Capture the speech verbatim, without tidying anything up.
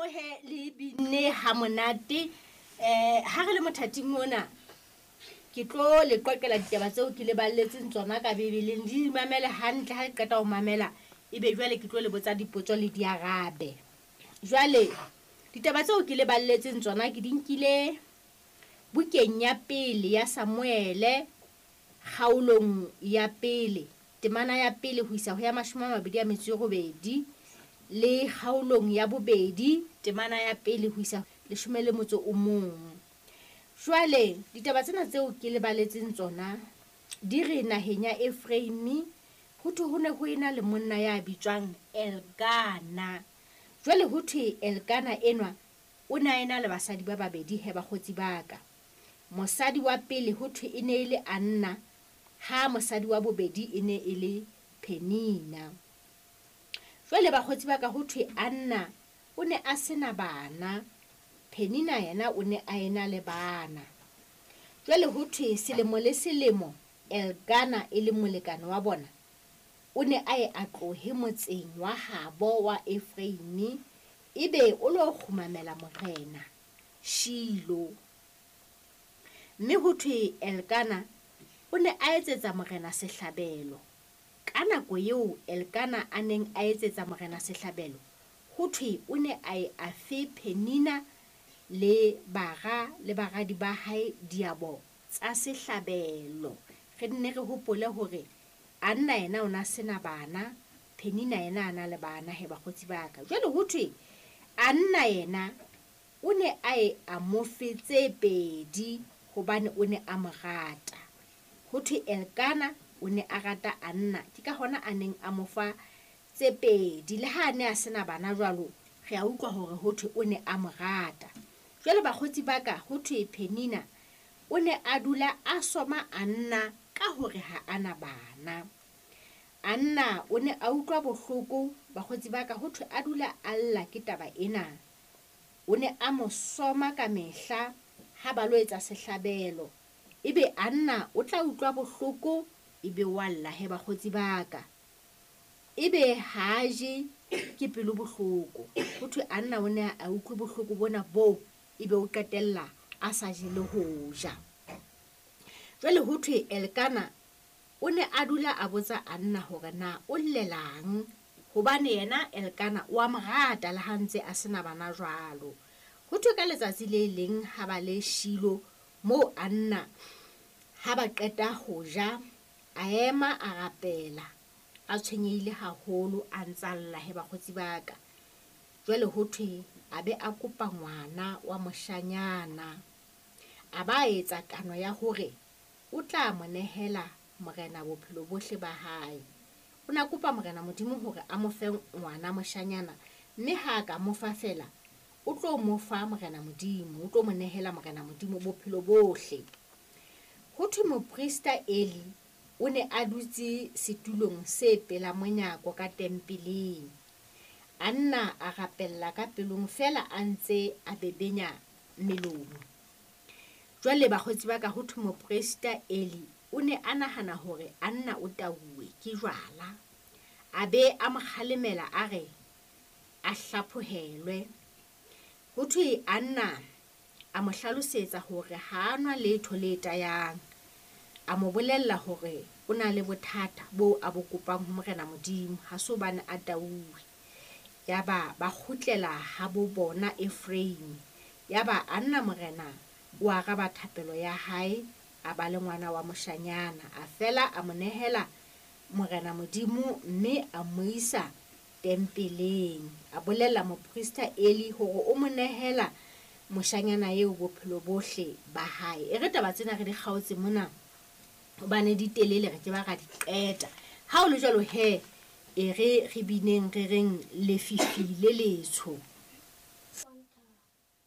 moo he le binne ha monate. Eh ha re le mothating ona ke tlo le qoqela ditaba tseo ke le balletseng tsona ka Bibeleng. Di mamele hantle ha le qeta ho mamela ebe jwale ke tlo le botsa dipotso le di arabe. Jwale ditaba tseo ke le balletseng tsona ke di nkile bukeng ya pele ya Samuele kgaolong ya pele temana ya pele ho isa ho ya mashome a mabedi a metso e robedi le kgaolong ya bobedi temana ya pele ho isa leshome le motso o mong. Jwale ditaba tsena tseo ke le baletseng tsona di re naheng ya Ephraim ho thwe ho ne ho ena le monna ya bitswang Elkana. Jwale ho thwe Elkana enwa o ne a ena le basadi ba babedi he bakgotsi ba ka. Mosadi wa pele ho thwe e ne e le Anna, ha mosadi wa bobedi e ne e le Penina. Jwale bakgotsi ba ka ho thwe Anna o ne a sena bana, Penina yena o ne a ena le bana. Jwale ho thwe selemo le selemo Elkana e le molekane wa bona o ne a ye a tlohe motseng wa habo wa Ephraim ebe o lo kgumamela morena Shilo. Mme ho thwe Elkana o ne a etsetsa morena sehlabelo. Ka nako eo Elkana a neng a etsetsa morena sehlabelo, ho thwe o ne a ye a fe Penina le bara le baradi ba hae diabo tsa sehlabelo. Re nne re hopole hore Anna yena o na sena bana, Penina yena a na le bana he bakgotsi ba ka. Jwale ho thwe Anna yena o ne a ye a mo fe tse pedi hobane o ne a mo rata. Ho thwe Elkana o ne a rata Anna, ke ka hona a neng a mo fa tse pedi. Le ha a ne a sena bana jwalo, re a utlwa hore ho thwe o ne a mo rata. Jwale bakgotsi ba ka, ho thwe Penina o ne a dula a soma Anna ka hore ha ana bana. Anna o ne a utlwa bohloko bakgotsi ba ka, ho thwe a dula a lla ke taba ena. O ne a mo soma ka mehla ha ba lo etsa sehlabelo. Ebe Anna o tla utlwa bohloko ebe wa lla he bakgotsi ba ka. Ebe ha a je ke pelo bohloko. Ho thwe Anna o ne a utlwe bohloko bona boo ebe o qetella a sa je le ho ja. Jwale ho thwe Elkana o ne a dula a botsa Anna hore na o llelang, hobane yena Elkana o a mo rata le ha ntse a sena bana jwalo. Ho thwe ka letsatsi le leng ha ba le Shilo moo Anna ha ba qeta ho ja a ema a rapela a tshwenyehile haholo a ntsa lla he bakgotsi ba ka. Jwale ho thwe a be a kopa ngwana wa moshanyana, a ba etsa kano ya hore o tla mo nehela morena bophelo bohle ba hae. O na kopa morena Modimo hore a mo fe ngwana moshanyana, mme ha ka mo fa fela o tlo mo fa morena Modimo, o tlo mo nehela morena Modimo bophelo bohle. Ho thwe moprista Eli o ne a dutse setulong se pela monyako ka tempeleng. Anna a rapella ka pelong fela a ntse a bebenya melomo. Jwale bakgotsi ba ka, ho thwe moprista Eli o ne a nahana hore Anna o tauwe ke jwala. A be a mo kgalemela a re a hlaphohelwe. Ho thwe Anna a mo hlalosetsa hore ha a nwa letho le tayang. A mo bolella hore o na le bothata bo a bo kopang ho morena Modimo, ha se hobane a tauwe. Yaba ba kgutlela ha bo bona Ephraim. Yaba Anna morena o araba thapelo ya hae, a ba le ngwana wa moshanyana. A fela a mo nehela morena Modimo mme a mo isa tempeleng. A bolella moprista Eli hore o mo nehela moshanyana eo bophelo bohle ba hae. E re taba tsena re di kgaotse mona hobane di telele re ke ba ra di qeta. Ha o le jwalo he, e re re bineng re reng lefifi le letsho.